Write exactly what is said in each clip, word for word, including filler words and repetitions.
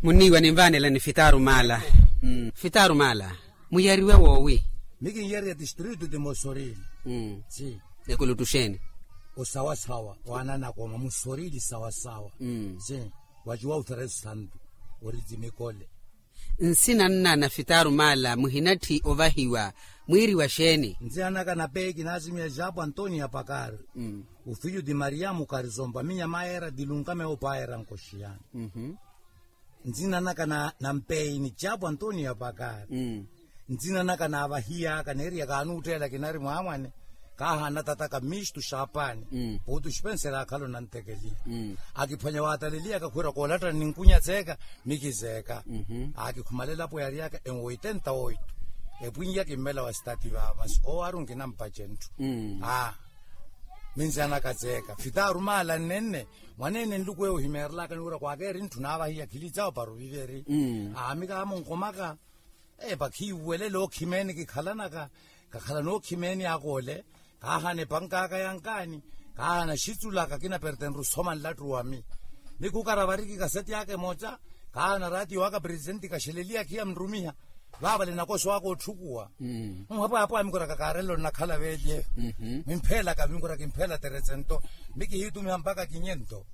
Munniiwa ninvaanelani fitaaru maala. Fitaaru maala, muyariwe woowi? Mi kinyariya tistritu ti mosorili. Si. Ekulutu xeeni? Osawasawa waananakoma musorili sawasawa. Si. Waciwa uferesu santu ori ti mikole. Nsina nnana fitaaru maala muhinatthi ovahiwa, mwiiriwa xeeni? Nzina naka na peyi kinaasimiya japo antonia pakari. Ufilyu ti mariyamu karisompa minya mayeera ti lunka mewo payeera nkoxiyani. Nzina naka na mpeyi ni japo antonia pakari. Nzina naka naavahiyaka neeriya kaanuutteela kinari mwaamwane. Kaahaana tataka mistu xaapani puutu xipenseri akhala onantekeliha. Akiphwanya waataleliyaka khwiira koolattani ninkunya tseeka. Mikitseeka akikhumalela apo yaariyaka enwoitenta oitu. Epwinya kimmela wa sitati vaava masi owaru nkinampace ntthu. Aa. Minzanaka tseeka fitaaru maala nnenne. Mwaneene nluku eyo ohimeerelaka niwira kwaakeeri ntthu naavahiya khilitsawo para oviveri. Aa mi kaamunkomaka. Epa khiiwelela okhimeeni kikhalanaka. Kakhala nookhimeeni akoole. Kaahana epankaaka yankaani. Kaahana xitsulaka kinapertenru osoma nlattu wami. Mikukara variki kaseti aka emoca. Kaahana ratiyo aka presitenti kaxeleliya khiya mrumiha. Vaavale nakoso aka otthukuwa. Nhapwahapwaha mikuraka kaarelo nnakhala veelye. Mimpheelaka mikuraka kimpheela teresento. Mikihiitumiha mpaka kinyento.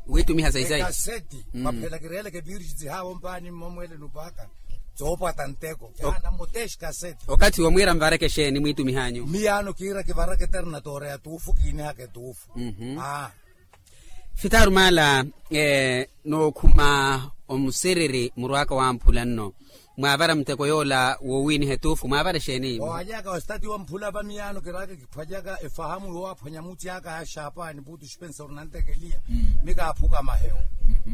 Wiitumiha saisai ekaseti mwaphela kireeleke virisi haavo mpaani mmomwele nupaka. Tsoopwata nteko yaana mutexi kaseti. Okathi womwiira mvareke xeeni mwiitumihanyu? Miyaano kiira kivaraka eternatoora ya tuufu kiinihaka etuufu. Aa. Fitaaru maala. Nookhuma omusiriri murwaka wamphula nno. Mwaavara muteko yoola woowiniha etuufu mwaavara exeeni? Waalyaka ositati wamphula vamiyaano kiraaka kiphwalyaka efahamu yoowaphwanya muti aka ya xaapani puutu xipenseri onantekeliya. Mi kaaphuka mahewo.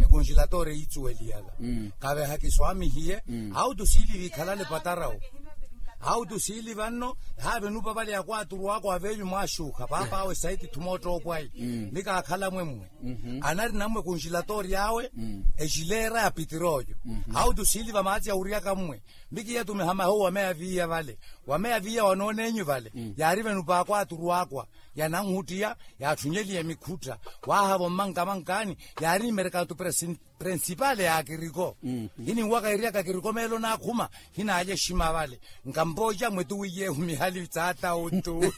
Ekonxilatoori eyiitsuweliyaka kaveha kiswaamihiye. Hautu siili vikhalale patarawo. Hautu siili vanno. Haave nupa vale ya kwaaturu aka wa veevi mwaaxuukha paapaawe saiti thuma ottoopwayi. Mi kaakhala mwemmwe. Anari nammwe kunxilatoori awe. Exileera ya pitirooyo. Hautu siili vamaatsi ya wuriyaka mmwe. Mi kiyatumiha mahewu wameya viiya vale. Wameya viiya wanoonenyu vale. Yaari venupa akwaaturu akwa yananhuttiya. Yaatthunyeliye mikhutta. Waahavo mmankamankaani. Yaari nimerekatu prensipale ya kiriko. Hininwaka eriyaka kiriko meelo naakhuma. Hinaalya exima vale. Nkampooca mwetu wiiyehu mihali tsaata uttu.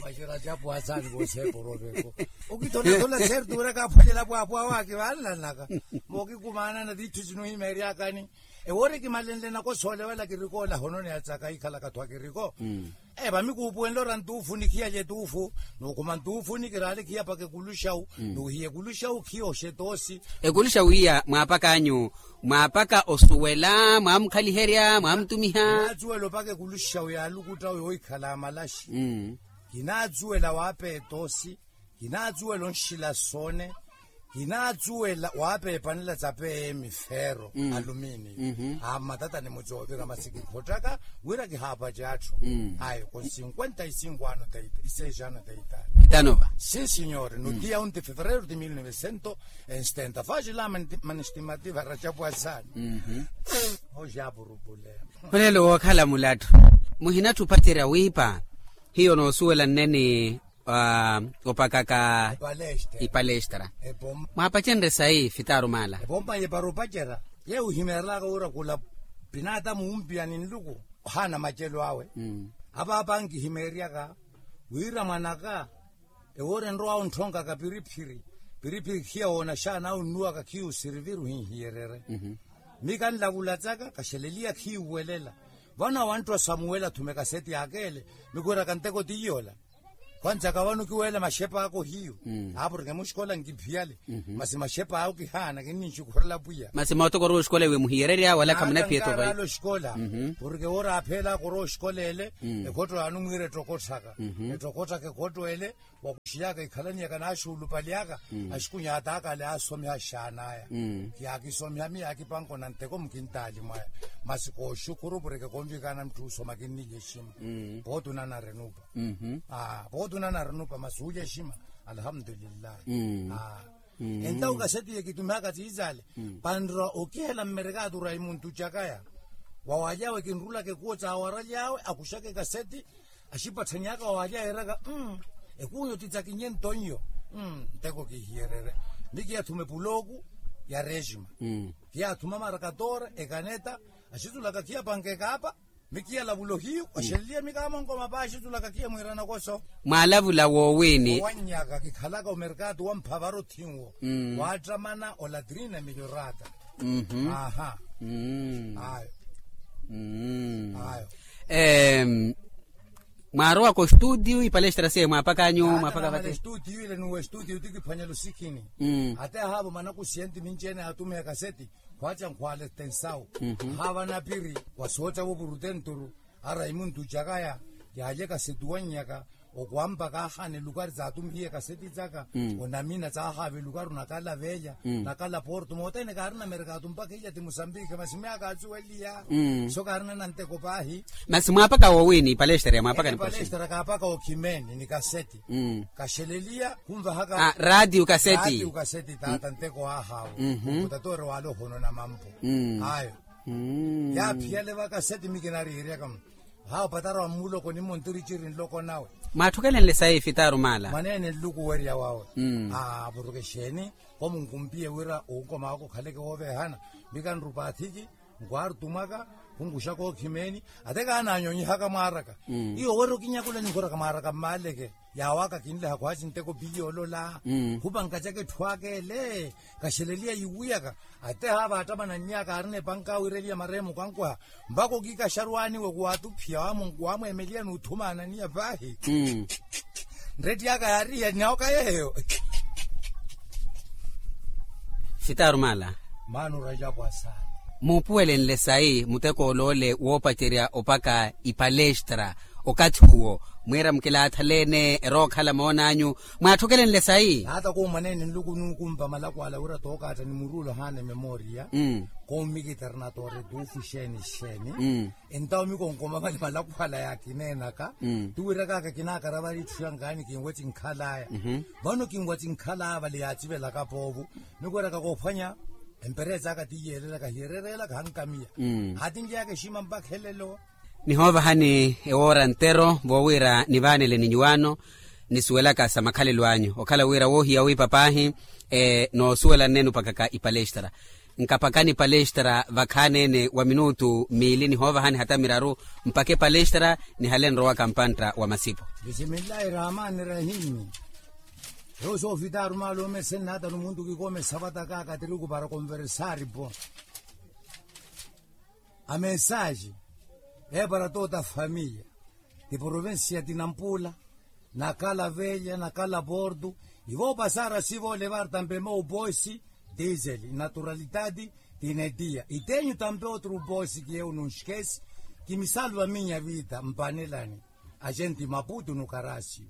Waxira capu asaani voseeporoveko. Okitholathola seeri tuuraka aphwalela pwaapwaawe akivalanaka. Mookikumaanana titthu sinuhimeeryakani. Ewoori kimalenle nakosoole wala kirikoola hono ni atsaka ikhalaka tthwa kiriko. Epa mikuupuwenle ora ntuufu nikhiya lye tuufu. Nuukhuma ntuufu nikiraale khiya paka ekuluxawu. Nuuhiya ekuluxawu khiya oxetoosi. Ekuluxawu iya mwaapaka anyu? Mwaapaka osuwela mwaamukhaliherya mwaamutumiha. Kinaatsuwela opaka ekuluxawu yaalukuttawu yoohikhala amalaxi. Kinaatsuwela waapeya etoosi. Kinaatsuwela onxila soone. Kinaatsuwela waapeya epanela tsa peeye mifeero. Alumini. Aa mmatatani mucoovira masi kikhottaka wira kihaapace atthu. Ayo kon cinquenta y cinco ano teita iseis ano teita. Tanova. Sin sinyori no dia un de fevereiro de mil novecento. Enstenta faxi la manestimativa racapu asaani. Oxapurupule. Olelo wookhala mulatthu muhinatthi opacerya wiipa. Hiyo noosuwela nneni opakaka ipalestra. Mwaapacenrye sayi fitaaru maala. Epompa yepara opacerya yeyo ohimeerelaka wira khula pinaatamu wumpiya ni nluku ohaana macelo awe. Apaapa nkihimeeryaka wira mwanaka ewoori enrowawe ontthonkaka piriphiri. Piriphiri khiya woona xaana awe onnuwaka khiya osiriviri ohinhiyererye. Mi kanlavulatsaka kaxeleliya khiiwelela. Vano awantthu asamuwela athume kaseti akeele. Mikwiraka nteko ti yoola. Khwantsaka vano kiweela maxepa ako hiyo. Aa porke muxikola nkiphiyale. Masi maxepa awo kihaana kinninxukhurela pwiya. Masi mootokoro oxikola iwe muhiyererya wala khamunaphiya etoko ayi? Oxikola porke woori apheela akorowa oxikola ele. Ekhotto yaani omwiira ettokotthaka. Ettokotthaka ekhotto ele. Wakuxiyaka ikhalaniyaka naaxuulupaliyaka. Axikunyataaka ale aasomiha axaanaya. Yaakisomiha miyo yaakipanka onanteko mukintaali mwaya. Masi kooxukhuru porke konvikana mutth'usoma kinnilya exima. Pooti onanara enupa. Pooti onanara enupa masi uulya exima. Alhamdulillahi. Entawu kaseti yekitumihaka tsiitsale. Panrwa okihela mmerekatura imuntu cakaya wawalyawe kinrulaka ekuwo tsawaralyawe akuxaka ekaseti. Axipatthanyaka wawalyawe eraka. Ekuwo nyo titsakinye nto nyo. Nteko kihiyererye. Mikiyathuma epulooku ya rejima. Kiyathuma marakatora ekaneta. Axitulaka kiyapanka ekaapa. Mikiya lavulo hiyu oxeleliye mikaamonkoma paaxitulaka kiya mwiirana koso. Mwalavula woowini. Owannyaka kikhalaka omerkatu wa mphavara othinwo. Waattamana olatrina milorata. Aha. Ayo. Ayo. Mwaarowaka ostuutiyu ipalestra siye mwaapakanyu mwaapaka vate? Estuutiyu ile nuwe estuutiyu ti kiphwanyela osikhini. Ate ahaavo manakusiya nti minci-ene aatumiha ekaseti. Khwaaca nkhwaale tensawu. Ahaava napiri wa sooca vopurutenturu. Ara imuntu icakaya yaalye ekaseti wannyaka. Okwampa kaahana elukari saatumihiye ekaseti caka. Onamina caahaava elukaru nakala veelya nakala porto mootene kaarina merkatu mpakha ilya ti musambikhi masi myaaka asuweliya. So kaarina nanteko paahi. Masi mwaapaka woowini ipalestra ya mwaapaka ni palestra kaapaka okhimeni ni kaseti. Kaxeleliya khunvahaka raatiyu kaseti. Raatiyu kaseti taata nteko aahaawo. Mutatori waale ohonona mampo. Ayo. Yaaphiyale vakaseti mikinariiryaka. Haawo patara wa mmuloko nimmo ntiriciri nloko nawe. Mwaatthukelenle sayi fitaru maala. Mwaneene nluku werya wawe. Avuruke exeeni. Komunkumpiye wira onkoma waka okhaleke wooveehana. Mikanrupa athiki. Nkwaartumwaka. Khunkuxaka okhimeeni. Ate kaananyonyihaka mwaaraka. Iyo wira okinyakula ninkhuraka mwaaraka mmaaleke. Yaawaka kinleha khwaaci nteko piye olola. Khupankacaka etthu aka ele. Kaxeleliya yiwiyaka. Ate haava attamana nnyaka aarina epanka awiireliya mareemo kankweha. Mpakha okikaxarwaaniwe kuwaatuphiya waamweemeliya n'uthumaananiya paahi. Nretti aka yaarihiya nnawoka yeeyo. Fitaru maala. Maana orajapu asaana. Muupuwelenle sayi muteko ol'ole woopacerya opaka ipalestra. Okathi uwo mwiira mukilaathaleene erookhala moon'anyu. Mwaatthukelenle sayi. Hata koomwaneene nluku nuukumpa malakwala wira tookaatta ni muruulo haana ememoriya. Koomikitera natoore tuufu xeeni xeeni. Entawo mikonkoma vale malakwala yaakineenaka. Tuwirakaka kinaakara vari etthu yankaani kinwa cinkhalaya. Vano kinwa cinkhalaya vale yaacivelaka poovo. Mikwiraka koophwanya empereesa aka tiyeelelaka hiyerereelaka hankamiya. Haatinlyeyaka exima mpakha elelo. Nihoovahani ewoora ntero voowira nivaanele ni nyuwaano nisuwelaka sa makhalelo anyu okhala wira woohiya wiipa paahi. Noosuwela nneene opakaka ipalestra. Nkapakani palestra vakhaneene wa minutu miili nihoovahani hata miraru. Mpake palestra nihale nrowaka mpantta wa masipo. Bisimillahi rahmani rahimi. Ewo soofitaru maala omesene hata numuntu kikoomesa vataka katiriku para konversari po. Amensaji eepara toota famiya ti provincia ti nampula nakala velya nakala porto. Ivo pasara sivo levar tampe meu poisi. Disel naturalitati tinetia itenyu tampe otru poisi kieu nunxikesi. Kimisalva minya vita mpanelani. Agenti maputu nukarasio.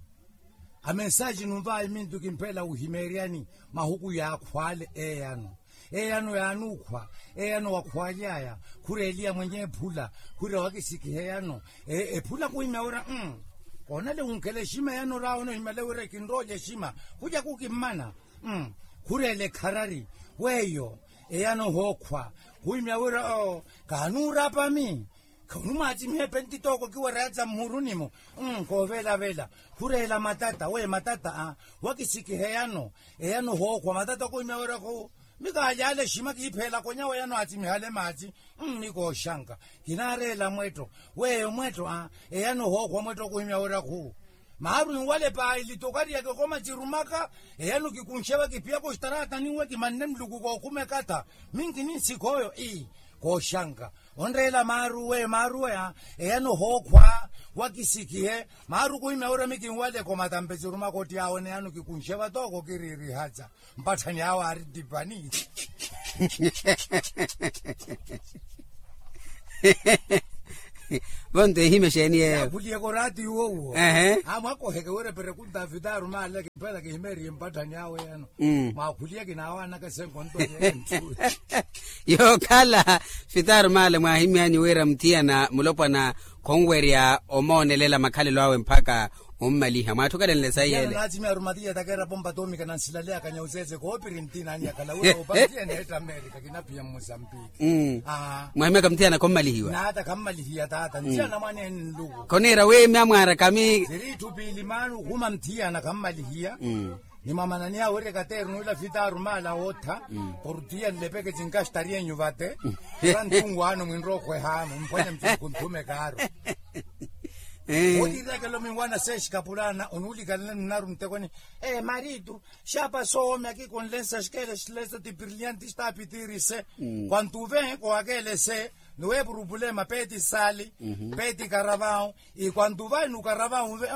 Amensaji nunvaha imintu kimphela wuhimeeryani mahuku yaakhwale eyano. Eyano yaanukhwa. Eyano wakhwalyaya. Khureeliya mwenye ephula. Khurira wakisikiha eyano. Ephula kuhimya wira koonale wunkhela exima eyano raha onohimyale wira ekinroolya exima. Khulya kukimmana. Khureela ekharari. Weyo eyano hookhwa. Kuhimya wira oo kaanuurapami. Khunumwaatsimiha epentitooko kiwereyatsa mmuhuruni-mo. Koovelavela. Khureela matata we matata a wakisikiha eyano. Eyano hookhwa matata kuhimya wira khu. Mikaalyale exima kiipheelaka onyawa eyano aatsimihale maatsi. Mikooxanka. Kinaareela mwetto. Weyo mwetto a eyano hookhwa mwetto kuhimya wira khu. Maaru enwale paahili tokariyaka ekoma cirumaka. Eyano kikunxe vakipiyaka oxitaraata ninwe kimanne nluku kookhuma ekatha. Minki ninsikha oyo ii. Kooxanka. Onreela maaru we maaru we a eyano hookhwa. Wakisikihe. Maaru kuhimya wira mikinwale ekoma tampe cirumaka otti awo ene eyano kikunxe vatooko kiriirihatsa. Mpatthani awo aari ttipani. Vonto ehime exeeni yeeyo. Yakhuliyeke oraatiyo owo. Amwakoheke wira eperekunta afitaru maale kimpela kihimeeriye mpatthani awo eyano. Mwaakhuliyeke n'awaanaka esenko nto yeenthu. Yookhala fitaru maale mwaahimyanyu wira muthiyana mulopwana khonwerya omoonelela makhalelo awe mpakha ommaliha mwaathukelenle sayi ele. Naatsimya arumatiya takera pompa toomika nansilaleyaka nyauseese koopiri ntinani yakhala wira opatiye neetta amerika kinaphiya mmusambiki. Mwahimyaka muthiyana khommalihiwa. Naata khammalihiya taata nthiyana mwaneene nluku. Khoniira wiimya mwaara kami. Siri itthu piili maana okhuma muthiyana khammalihiya. Nimwamananiya wira ekateeri nuula fitaaru maala wootha portiya nlepeke cinkaxitariyenyu vate. Ira nthunwaano mwinrokhweha mumphwanye mtsuku nthume kaaru. Otiirakelo minwana seexikapulaana onuulikalana nnaru ntekoni. Ee maritu xaapa soome akikonlensa xikele xileso ti brillianti xitaapitirise. Kwantu ve kowakelese nuwe purupulema peeti saali peeti karavawu. Ikwantu vai nukaravawu ve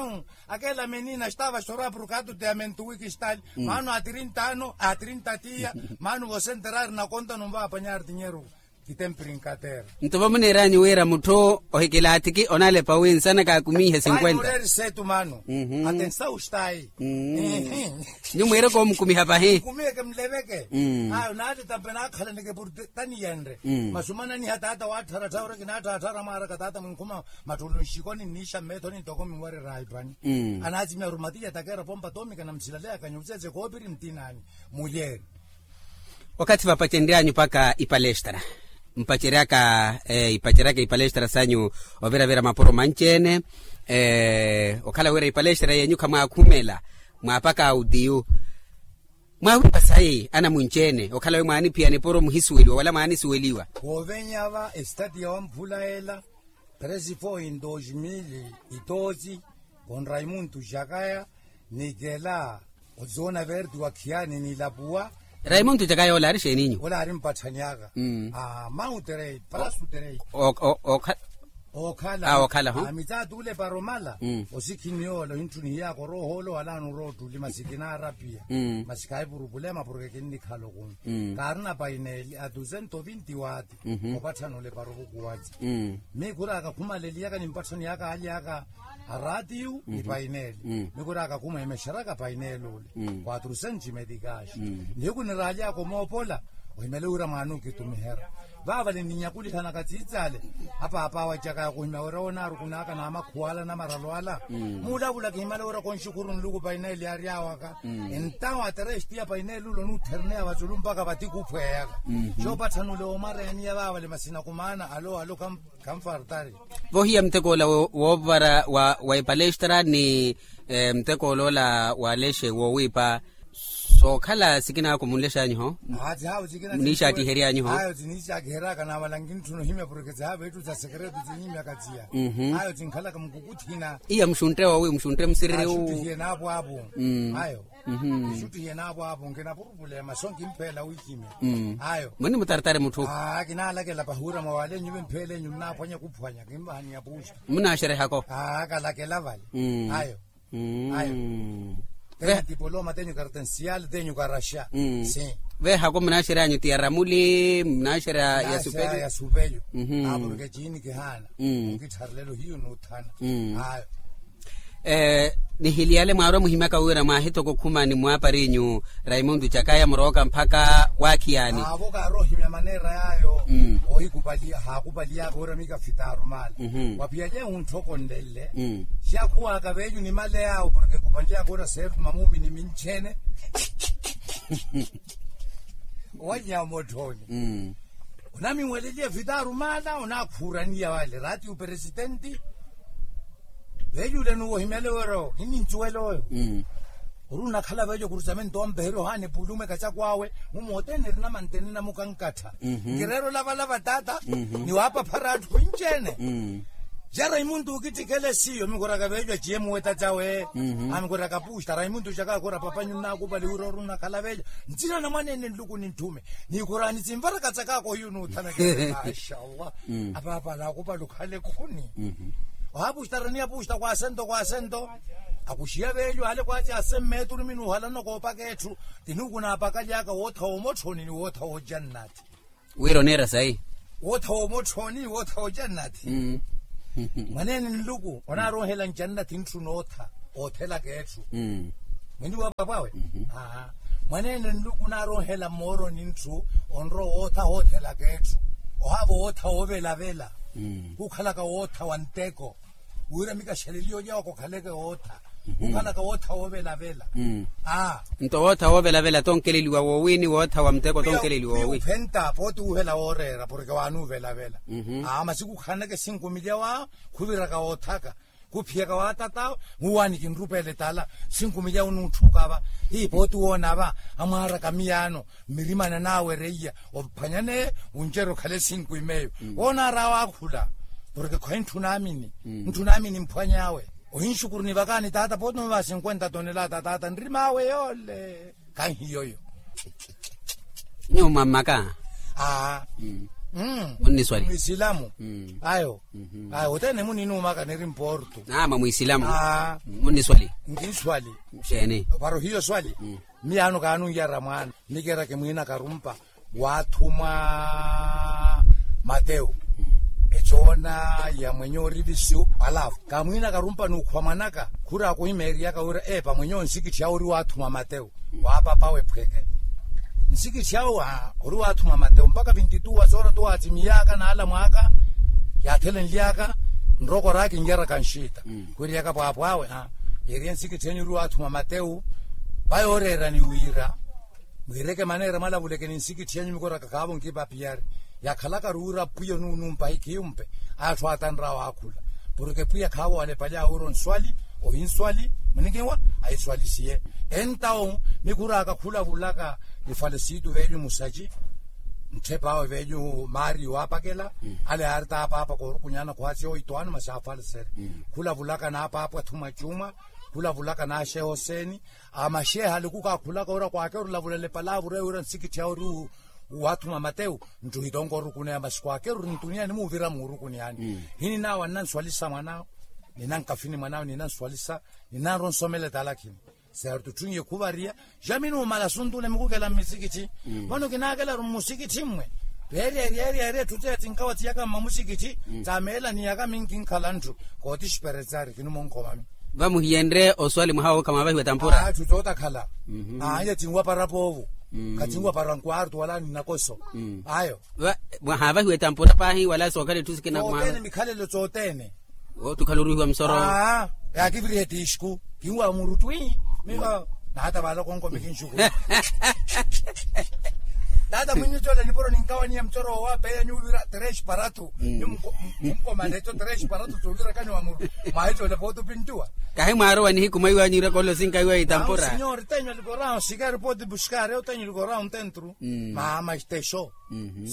akela menina xitava xorapuru katu teamentu wiki xitali. Maanu a trinta ano a trinta tiya. Maanu vosenterari nakonta numva apanyari tinyeru. Kitempiri nkatera. Nto vamuneeranyu wira mutthu ohikilaathiki onalepa wi nsana kaakumiihe sinkwenta. Mureeri seetu maanu. Atensa ustayi. Nyu mwiireke omukumiha pahi. Kumiyeke mleveke. Ayo naati tampe naakhalaneke purte taniyenre. Masumananiha taata waattharattha ore kinaatthaatthara mwaaraka taata mwinkhuma matthulu nxikoni nniixa mmeethoni ntoko minwareraayi pani. Anaatimiya rumatiya takera pompa toomika na msilaleya kanyutsetse koopiri mtinaani. Muyeeri. Wakathi vapacenryanyu paka ipalestra mpaceryaka ipaceryaka ipalestra sanyu. Oviravira mapuro manci-ene okhala wira ipalestra yenyu khamwaakhumela mwaapaka autiyu. Mwaawipa sayi anamwinci-ene okhala wi mwaaniphiyana epuro muhisuweliwa wala mwaanisuweliwa. Woovenya va esitati ya wamphula ela. Tresi fo in dos mil itosi. Kon raimuntu jakaya nikela otsona verti wa khiyani nilapuwa. Raimuntu jakaya ola ari xeeninyu? Ola ari mpatthani aka. Mauterei prasuterei. Okhala. Mitsaati ulepara omala. Osikhini yoola ohinttunihiyaaka oroohoolo wala anurootuli masi kinaarapiya. Masi khaipurupulema porke kinnikhala okumi. Kaarina paineli a dusento vinti wati. Opatthana olepara ovukuwatsi. Mikhuraka khumaleliyaka nimpatthani aka alyaka araatiyu ni paineli. Mikhuraka khumwemexeraka paineli ole. Quatrusenci metikaxi. Nihiku niraalyaka omoopola ohimele wira mwaana okitumihera. Vaavale ninyakulihanaka tsiitsale. Apaapa awe acakaya kuhimya wira onaarukunaka na amakhuwala na maralo ala. Muulavula kihimala wira konxukhuru nluku paineli aryawaka. Entawo aterexti ya paineli ula onuutherneya vatsulu mpaka vati kuphweyaka. Xoopatthana ole woomareyaniya vaavale masina kumaana alo alo. Vohiya muteko ola woovara wa epalestra ni muteko ola ola wa lexe woowiipa. Sookhala sikinaako munlexanyu ho? Muniixattihery'anyu ho? Ayo tiniixattihery'aka naamala nkintthuna ohimya porke tsihaavi etthu tsa sekereto tsinhimyaka tsiya. Ayo tinkhalaka mukukutthina. Iya muxuntte woowi muxuntte musiriri wu. Axuttihiye naapwaapu. Ayo. Nixuttihiye naapwaapu nkinapurupulema so nkimpheela wihimya. Ayo. Muni mutaratari mutthu. Kinaalakela pahuura mwa wale nyuve mpheele nyu nnaaphwanya kuphwanya kimvahaniya puusta. Munaaxerehako. Kalakela vale. Ayo. Ayo. Tenyu tipoloma tenyu kartensiyali tenyu karaxa. Veehako munaaxery'anyu ti ya ramuli munaaxerya ya supelyu. Aporke ciini kihaana. Nkittharelelo hiyo nuuthana. Ayo. Nihiliyale mwaarwa muhimyaka wira mwaahitoko khuma ni mwaapariinyu raimundu cakaya murooka mpakha waakhiyani. Aavo kaarohimya maneera yaayo. Oohikupaliya haakupaliyaka wira mikafitaaru maale. Waphiya lyehu ntthokonlelle. Xakhuwaka veelyu ni male yaawo porke kupaliyaka wira seeruma muumini mincheene. Owalya motthoni. Onaminweleliya fitaaru maala onaakhuuraniya vale raati uperesitenti. Veeluule nuwo ohimyale wira owo hinincuwela oyo. Ori onakhala veeco kurusamento ompeherya ohaana epulume kacako awe. Mumoote nirina mantene namukankattha. Nkireera olavalava taata. Niwaapaphara atthu inci-ene. Jara imuntu okittikela esiyo mikhuraka veeco aciye muweta cawe. Amikhuraka puusta raimuntu caka akhura papanyu nnaakupali wira ori onakhala veeco. Ntsina na mwaneene nluku ninthume. Nikhurani tsimvaraka tsakaako hiyo nuuthanakela. Mashallah. Apaapa alaakupali okhale khuni. Ohaapuxtaraniya puxta kwaasento kwaasento. Akuxiya veelyo hale kwaaci asemmeetulumi nuuhalana koopaka etthu. Tinuuku naapakaly'aka wootha woomotthoni ni wootha woojannati. Wira oneera sayi. Wootha woomotthoni ni wootha woojannati. Mwaneene nluku onaaronhela njannati ntthu nootha. Oothelaka etthu. Mwiniwa papawe. Mwaneene nluku onaaronhela mmooroni ntthu onrowa ootha hoothelaka etthu. Ohaava ootha woovelavela. Kukhalaka wootha wa nteko. Wira mikaxeleliya olya okokhaleke wootha. Kukhalaka wootha woovelavela. Nto wootha woovelavela tonkeleliwa woowi ni wootha wa muteko tonkeleliwa woowi. Ophenta pooti wuuvela wooreera porke waanuuvelavela. Masi kukhaneke sinkumilya wa khuviraka woothaka. Kuphiyaka wa tat'awe, muwaani kinrupeele tala. Sinkumi yawe onuutthukava. Hii pooti woonava amwaaraka miyaano mmirimana naawe reiya. Ophwanyaneye wuncerya okhale sinkumi meyo. Woonaar'awe akhula. Porke khoyi ntthu naamini. Ntthu naamini mphwany'awe. Ohinxukuru nivakaani taata pooti noova sinkwenta tonelaata taata nrim'awe yoole. Kanhiyoyo. Nyuwo mwammaka. Aa. Munniswali. Mwisilamu. Ayo. Ayo othene muninuumaka niri mporto. Naama mwisilamu. Munniswali. Nkinswali. Para ohiya oswali. Miyaano kaanunjara mwaana. Nikera kimwiina karumpa waathumwa matewu. Ecoona ya mwenye orivisiwa alafu kamwiina karumpa n'ukhwa mwanaka. Khuraka ohimeeriyaka wira epa mwenye onsikitthi awe ori waathumwa matewu. Wa papawe phweke nsikitthi awe ori waathumwa matewu mpaka vinti-tu wa soora tu waatsimiyaka n'ala mwaaka. Yaathelenlyaka nroko oraka kinjaraka nxiita. Khwiiriyaka pwaapw'awe yeeriye nsikitthi enyu ori waathumwa matewu. Vayooreerani wira mwiireke maneera mwalavuleke ni nsikitthi enyu mikoraka khaavo nkipapiyari. Yakhalaka ruura pwiya onuunumpa hikhiumpe. Aya atthu aatanr'awe akhula porke pwiya khaavo walepalyawe wira onswali ohinswali. Munikiwa ahiswalisiye. Entawu mikhuraka khulavulaka ni falesitu v'enyu musaci ntthep'awe v'enyu maari waapakela. Ale yaari t'apaapa koorukunyana khwaasiya oitwaano masi aafalesere. Khulavulaka n'apaapa athumwa cuma. Khulavulaka n'axeha oseeni. Amaxeha aluku kaakhulaka ora kwaakeru olavula lepalaavu reyo wira nsikitthi awe ori waathuma matewu. Ntthu hitonko orukuneya masi kwaakeru ori ntuniya nimuuvira muurukuneyani. Hininaawa nnanswalisa mwan'awe ninankafini mwan'awe ninanswalisa ninanrwa onsomela etalakhini. Seerto tthunye khuvariya jami numala suntule mikukela mmisikitthi. Vano kinaakelaru mmusikitthi mmwe reeryeeryeerye etthu tseya tsinkawa tsiyaka mmamusikitthi. Tsameela niyaka minkinkhala ntthu kooti xiperetsari kinumonkhomami. Vamuhiyenrye oswali mwaha woowo khamwaavahiwa etampura. Atthu tootakhala. Aaya tsinwapara poovo khatsinwapara nkwarto wala ninakoso. Ayo mwahaavahiwa etampura paahi wala sookhala etthu sikina mwaha. Mikhalelo tsootene. Otukhala oruhiwa musoro. Yaakiviriha etiixku kinwa muru twi. Miho nahata vaala okonko mikinxuku. Nahata mwinyu tole nipuro ninkawaniya mucoro woowapeya nyuuvira terex paratu. Nyumunkomana eco terex paratu tuuvirakani wa muru. Mwahi tole pooti opintuwa. Kahi mwaarowa nihiku mwaiwa nyuuraka olosinka iwa itampura. Sinyori tenyu likoraho sikari pooti buskari otenyu likoraho ntentru. Mama stexo.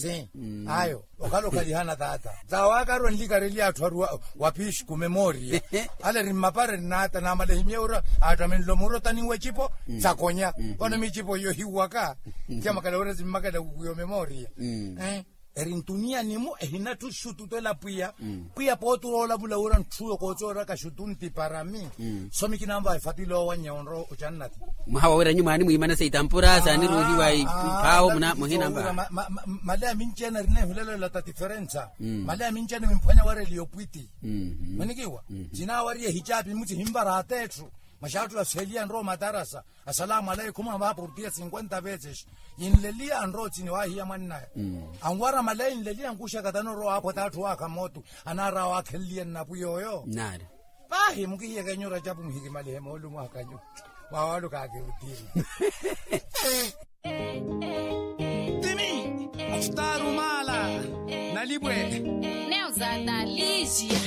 Sin. Ayo okhala okhalihana taata. Tsawaaka arowa nlikareliya atthu ari wa piixku memoria. Ale eri mmapara eri naata naamala ehimyeya ora atthu amenlo muru otaninwa ecipo. Tsakonya vano miicipo iyo hiwaka. Tiyamakala wira zimmakela kukuya omemoria. Eri ntuniya nimu ehinatthu xutu twela pwiya. Pwiya pooti oroolavula wira ntthuyo koocooraka xutu ntiparami. So mikinanva efatila owannya onro ocannati. Mwaha wawira nyumaani mwiimana sa itampura saaniruuhiwa iphawo muhinanva. Maleya minci ene eri neehulelela ta tiferensa. Maleya minci ene mimphwanya wareliya opwiti. Mwenikiwa. Cinawariya ehicapi muci hinvara atetthu. Maxaattu aseeliya nrowa matarasa. Asalamu alaikum avaha portiya cinkwenta veces. Yinleliya anrowa ocini waahiya mwannaya. Anwara maleya yinleliya nkuxaka tano orowa aaphwata atthu waakha mootu. Anaara waakhenliya nnapwiya oyo. Nari. Paahi mukihiyeke nyu rajapu muhikimalihe moolumo akanyu. Mwawaluka akirutiri. Timi. Afutaru maala. Nalipwe. Neuzata liisia.